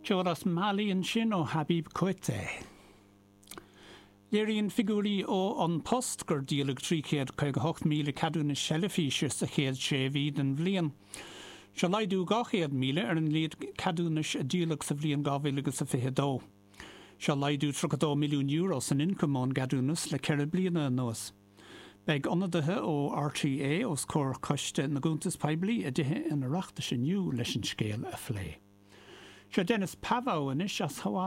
Ceol as Mali ansin ó Habib Koité. Léiríonn figiúirí ó An Post gur díoladh 358,000 ceadúnas teilifíse sa chéad sé mhí den bhliain. Seo laghdú 200,000 ar an líon ceadúnais a díoladh sa bhliain 2022. Seo laghdú €32 milliún san ioncam ón gceadúnas le ceithre bliana anuas. Beidh ionadaithe ó RTÉ os comhair Choiste na gCuntas Poiblí i dTithe an Oireachtais inniu leis an scéal a phlé. Seo Dennis Pavao anois as Hawaii.